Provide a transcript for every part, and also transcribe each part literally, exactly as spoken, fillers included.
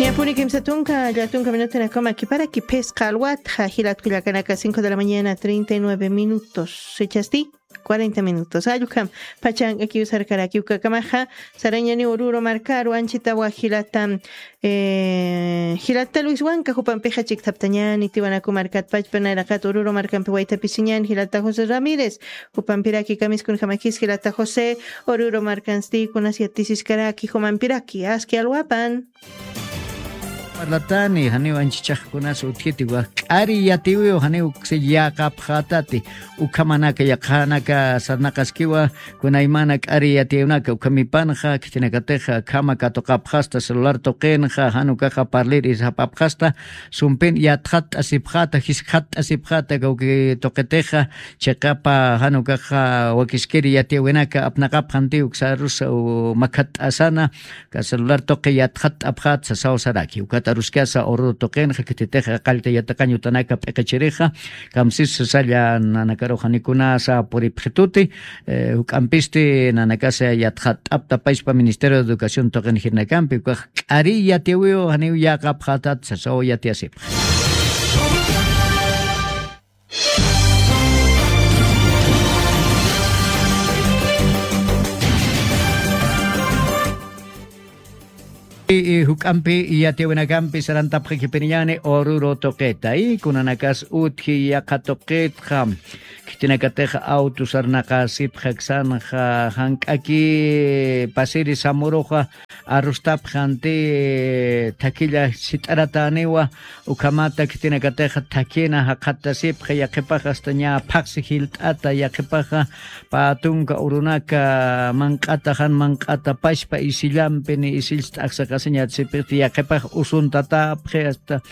Yapuni kimsa tunka, llatunka minutanakama kiparaki phisqa alwatxa, jilat kullakanaka, cinco de la mañana, treinta y nueve minutos. Sichasti, cuarenta minutos. Allukam, pachan akiw sarkaraki ukakamaxa, sarañani Oruro markaru, anchitawa jilata, eh, jilata Luis Huanca, jupampixa chikthaptañani, Tiwanaku markat pachpa nayraqat Oruro markampi waytapisiñani, jilata José Ramírez, jupampiraki kamiskunjamakis, jilata José, Oruro markansti, kunas yatisiskaraki, jumampiraki, aski alwapan. Parlatani, janiw anchichaxkunas utjiti, wak k'ari yatiwiw, janiw uksi yaqapxatati, ukhamanaka yaqhanaka sarnaqaskiwa, kunaymana k'ari yatiwnaka, ukhamipanxa, khitinakatixa, khama katuqapxasta, celular tuqinxa, jan ukaxa parlir isapapxasta, sumpin yatxatt'asipxata, jiskxatt'asipxata, kawki tuqitixa, chiqapa, jan ukaxa, wakiskiri yatiwinaka, apnaqapxanti, uksarusa, u makhatt'asana, ka celular tuqi yatxatt'apxat sasaw saraki. Ukat aruskasa Oruro tuqinxa, khititixa qallta yatiqañ utanaka p'iqichirixa, kamsis sasalla nanakarux janikunasa puripxituti, eh, juk'ampisti nanakasa yatxatt'apta payspa Ministerio de Educación tuqin jirnakampi, ukax k'ari yatiwiw janiw yaqapxatat sasaw yatiyasipxa. Y, y juk'ampi yatiwinakampi sarantapxakipiniñani Oruro tuqita, y kunanakas utji yaqha tuqitxa, khitinakatixa auto sarnaqasipxaksanxa, jank'aki pasiri samuruxa, arrustapxanti, thakilla sit'arataniwa, ukhamata khitinakatixa thakina jaqhatasipxa, yaqhipaxa hasta ña phaqsi jilt'ata, yaqhipaxa pä tunka urunaka manq'ata, jan manq'ata pachpa isillampi, ni isills t'aqsaqasiñatasipxti, yaqhipax usuntatapxi, hasta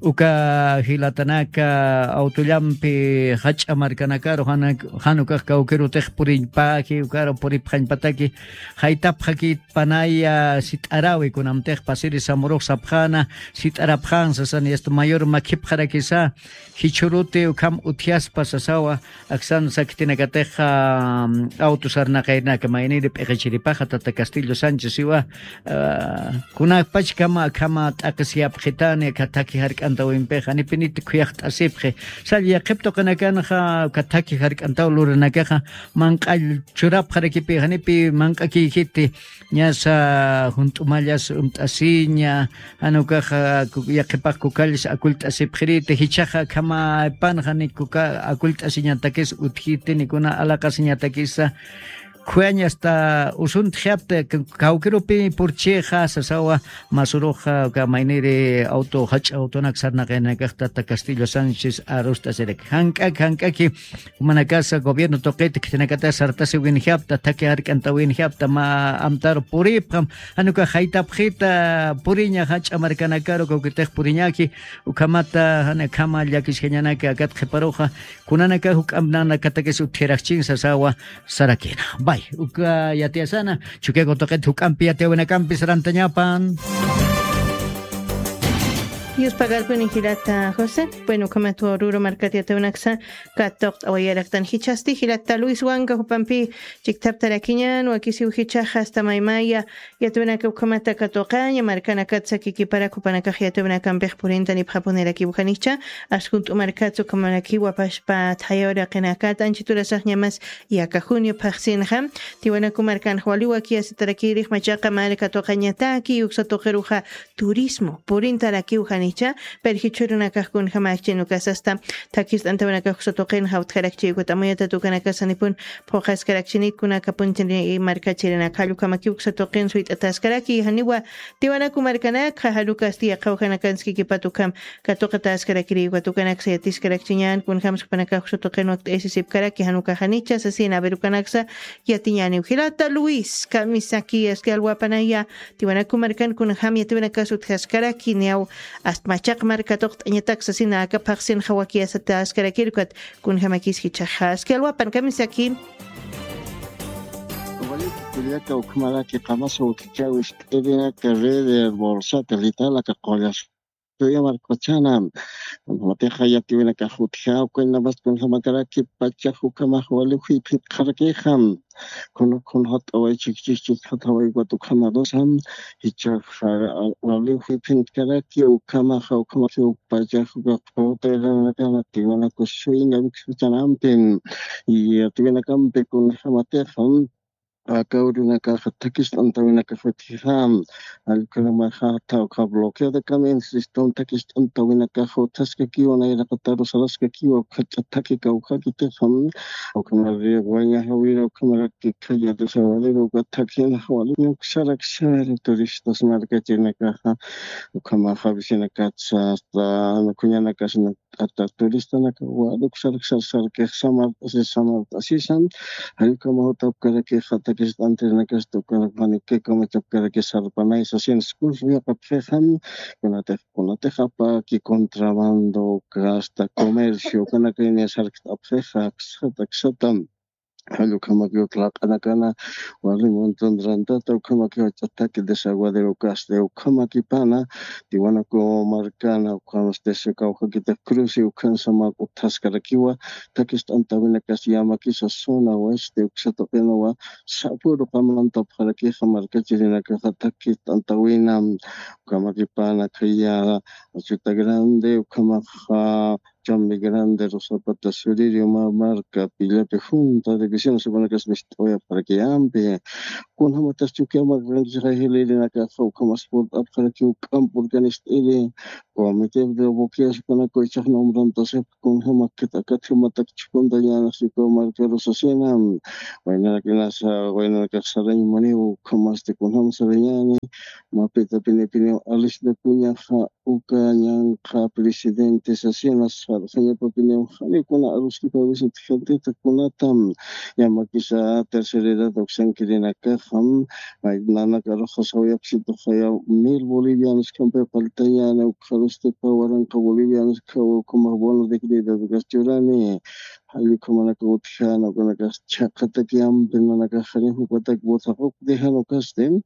uka jilatanaka, autollampi jach'a markanakaru, jan, jan ukax kawkirutix puriñpaji, ukaru puripxañpataki, jaytapxakit panaya sit'arawi, kunamtix pasiri samurux sapxana, sit'arapxan sasan, y hasta mayor makhipxarakisa, jichhuruti ukham utjaspa sasawa, aksan sakhitinakatixa, mm, auto sarnaqaynaka, mayniri p'iqichiripaxa, tata Castillo Sánchez iwa, ah, kunapach kama, kama t'aqis yapxitani, kathaki jark'antawimpixa, janipi niti khuyaxt'asipxi. Sall yaqhip tuqinakanxa, kathaki jark'antaw lurinakaxa, manq'all churapxarakipi, janipi manq'akiyjiti, ñasa junt'umallas umt'asiña, jan ukaxa, ku-, yaqhipax kukallis akullt'asipxiriti, jichhaxa akhamapanxa ni kuka akullt'asiñatakis utjiti, ni kuna alaqasiñatakisa, khuyañ hasta usuntxiyapta, k-, kawkirupi purchixa, sasawa, masuruxa, uka mayniri auto, jach'a autonak sarnaqaynakax tata Castillo Sánchez arust'asiraki. Jank'ak, jank'aki, jumanakasa gobierno tuqita khitinakata sartasiwinjapta, thaki jark'antawinjapta, mä amtaru puripxam, jan uka jaytapxita puriña jach'a markanakaru, kawkitix puriñaki, ukhamata, jan akhama llakisjañanaka akat qhiparuxa, kunanaka juk'amp nanakatakis utjiraxchin sasawa sarakina. Bay, uka yatiyasana, Chukiyaku tuqit juk'ampi yatiyawinakampi sarantañapan. Yuspagarpuni jilata José, bueno, ukhamat Oruro markat yatiyawinaksa, katuqt'awayaraktan jichhasti, jilata Luis Huanca jupampi chikthaptarakiñan, wakisiw jichhaxa hasta maymaya, yatiyawinaka ukhamata katuqaña, markanakat sakikiparak jupanakax yatiyawinakampix purintanipxapunirakiw janicha, askunt'u markatsa ukhamarakiwa pachpa thayawiraqinakat, anchiturasaxñamas yaka junio phaxsinxa, Tiwanaku markanxa wali wakiyasitarakirix machaqa marka tuqañataki, uksa tuqiruxa turismo purintarakiw janicha, pero jichhürunakax kunjamäkchin ukasasta, thakist'antawinakax uksa tuqinxa utjarakchi, ukat amuyatatukanakasanipun phuqaskarakchini, kunaka punchini markachirinaka, jallukamakiw uksa tuqin suyt'ataskaraki, janiwa Tiwanaku markanakxa, jalukasti yaqhawjanakanskikipat ukham, katuqataskarakiri, ukat ukanaksa yatiskarakchiñan, kunjamsa jupanakax uksa tuqin wakt'aysisipkaraki, jan ukax janicha sasina, a ver, ukanaksa yatiñäniw. Jilata Luis, kamisaki, aski alwapanaya, Tiwanaku markan kunjam yatiyawinakas utjaskaraki, niyaw, ast machaq marka tuqt'añatak sasina, aka phaxsinxa wakiyasataskarakir, ukat kunjamakis jichhaxa, aski alwapan, kamisaki. Kullaka ukhamaraki qamasa utjachäwis, t'irinaka red de bolsata, litalaka qullas. Tuya markachana. Kunjamatixa yatiwinakax utja, ukañamas kunjamakaraki pachax ukhamax wali juyphinkarakixam. Kun, kunjat'away chikchik chikjataway ukat ukhamarusam. Jichhaxa wali juyphinkaraki ukhamaxa, ukhamaxa pachax uka q'utayranakana tiwanakusuyna wiksuchanampin. Yatiwinakampi kunjamatixam. Aka urinakaxa takist'antawinakax utjixam, allkhanamaxa tawkha bloqueo de caminos, sistema takist'antawinakax utjaskakiwa, nayraqataru saraskakiwa, ukhach'a thaki kawkakitixam, ukhamaraki waña jawira, ukhamaraki khaya desaguadero, uka thakina jawali, uksarak sari turistas markachirinakaxa, ukhamaxa vecinakatsa, hasta kuñanakasna, t'ata turistanaka wali uksarak sarsarkix samart'asi, samart'asisan, jallukama jutapkarakixa takist'antirinakasti ukanak jani kay kamachapkaraki sarpanay sasin skusuyaqapxixam, kunatix, kunatix apaki contrabando, uka hasta comercio, ukanakay niya sarkt'apxixa, aksata, aksatam. Jallukamakiw laq'anakana, wali montón rantata, ukhamakiw jach'a thaki desaguadero kasti, ukhamakipana, tiwanaku markana, ukhamasti kawkakitix cruce, ukhansa mä utjaskarakiwa, takist'antawinakas yamakisa zona oeste, uksa tuqinawa, sapüru qamantapxarakixa markachirinakaxa takist'antawina, ukhamakipana, khaya, Achuta Grande, ukhamaxa, Chambi Grande, Rosapata, Suririo, Ma-, Marca, Pillapi, Junta, División, Sukunakas, Mist'oya, Parqueampi. Kunjamatas Chukiyamaq, Ranchis, Jilirinakaxa, ukhamas purt'apxarakiw, k'ampurkanist'iri, Comité de Boqueos, kunaka ichax nombrantasip, kunjamakit, akat jumatak chukuntañanas, Chukiyaw marka rusasina, waynarakinasa, waynarakax sarañmuniw, ukhamasti, kunjam sarañani, mapita, pini, pini, Alisna Kuñaxa, uka ñanqha presidente sasina sarxañapapiniw, janiw kuna aruskipa visitjantita kunatam, yamakisa tercera edad uksankirinakaxam, may nanaka aruxa sawayapsituxaya mil bolivianos kampi faltañäni, ukxarustipa waranqa bolivianos khawa ukhamax bono dignidad ukas churani, jallukhamanaka utjana, ukanakax chhaqataki ampi nanakax janiw jupatak votaquq dejan ukasti.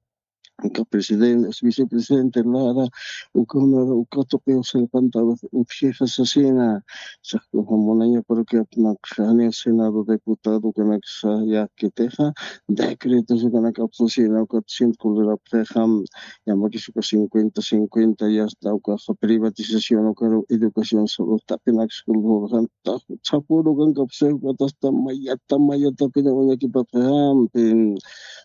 Uka presidente, vicepresidente Lara, uka una, uka tuqiw sarpanta utjixa sasina, saqkuxa munaña parroquiapunakxa, janiw Senado diputado ukanaksa yaqkitixa, decretos ukanak apsusina, ukat ciento colorapxixam, yamakis uka cincuenta cincuenta, ya está, ukaxa privatización, ukaru educación, salud, taqinaksa, kulturxan, sapüru ukankapxi, ukat hasta mayata, mayatapini uñakipapxixampi,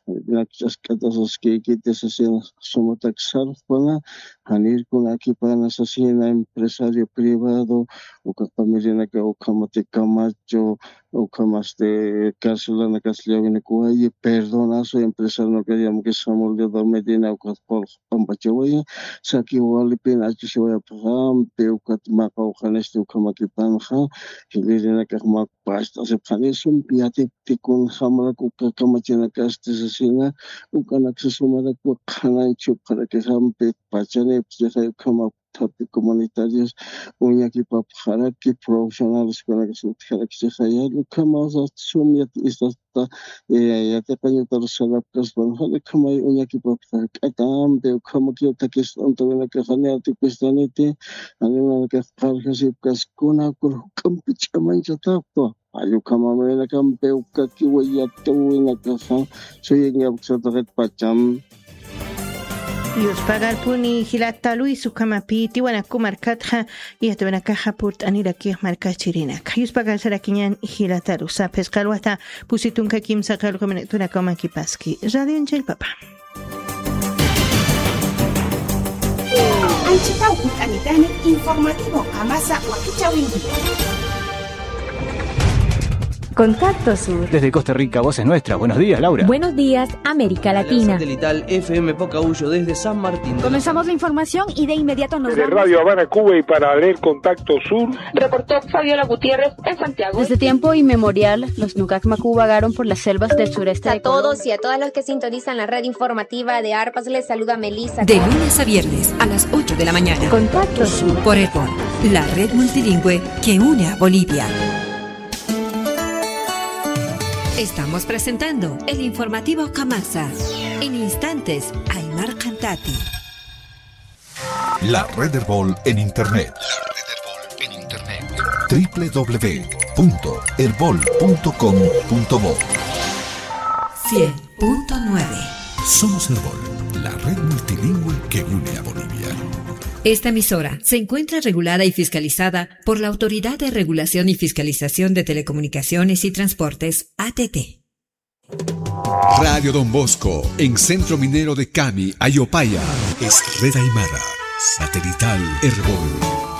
Nakchask'ata saskïkiti sasin sumatak sarxpana, janirkunakipana sasina empresario privado, uka familianaka ukhamati Camacho, ukhamasti carcelanakas llawinakuwayi, perdonazo empresarionakas yamakis Samuel de Medina, ukat qulq p'ampachawayi, saki walipin achusiwayapxampi, ukat maqawxanisti ukhamakipanxa, jilirinakax mak past'asipxani sumpi yatipti kunjamarak uka kamachinakasti sasina, ukanaksa sumarak qhanañ chhipxarakixampi pachanipxi, ukhama thaphi comunitarios uñakipapxaraki, profesionales kunaksa utjarakchixaya, ukhamasa sum yat-, istasta, eh, yatiqañutar sarapkaspan, jani ukhamay uñakipapxaraki, k'atampi ukhamakiw takist'antawinakax jani atikustaniti, jani nanakax qarjasipkas, kuna, kuna juk'ampi ch'amañchatapxwa. Jallukhamamawinakampi ukakiwa yatiwinakaxa, suyingapuksataqit pacham. Yuspagarpuni jilata Luis, ukhamapï Tiwanaku markatxa yatiwinakaxa purt'anirakix markachirinaka. Yuspagar sarakiñan jilata Luisa, phisqa alwata pusi tunka kimsa qallqu minutunakaw makipaski. Radio Anchaypapa. Anchitaw hunt'anitani informativo Qamasa wakichäwinki. Contacto Sur. Desde Costa Rica, Voces Nuestras. Buenos días, Laura. Buenos días, América Latina. Satelital F M Pocahuyo desde San Martín. Comenzamos la información y de inmediato nos vamos. Desde Radio Habana, Cuba, y para leer Contacto Sur. Reportó Fabiola Gutiérrez en Santiago. Desde tiempo inmemorial, los Nukak Maku vagaron por las selvas del sureste de Colombia. A todos y a todas los que sintonizan la red informativa de Arpas, les saluda Melissa. De lunes a viernes a las ocho de la mañana. Contacto Sur. Por Ecuador, la red multilingüe que une a Bolivia. Estamos presentando el informativo Kamasa. En instantes, Aymar Cantati. La Red Erbol en Internet. La Red Erbol en Internet. W W W punto erbol punto com punto bo. Cien punto nueve. Somos Erbol, la red multilingüe que une a Bolivia. Esta emisora se encuentra regulada y fiscalizada por la Autoridad de Regulación y Fiscalización de Telecomunicaciones y Transportes, A T T. Radio Don Bosco, en Centro Minero de Cami, Ayopaya. Es Red Aymara, satelital Erbol.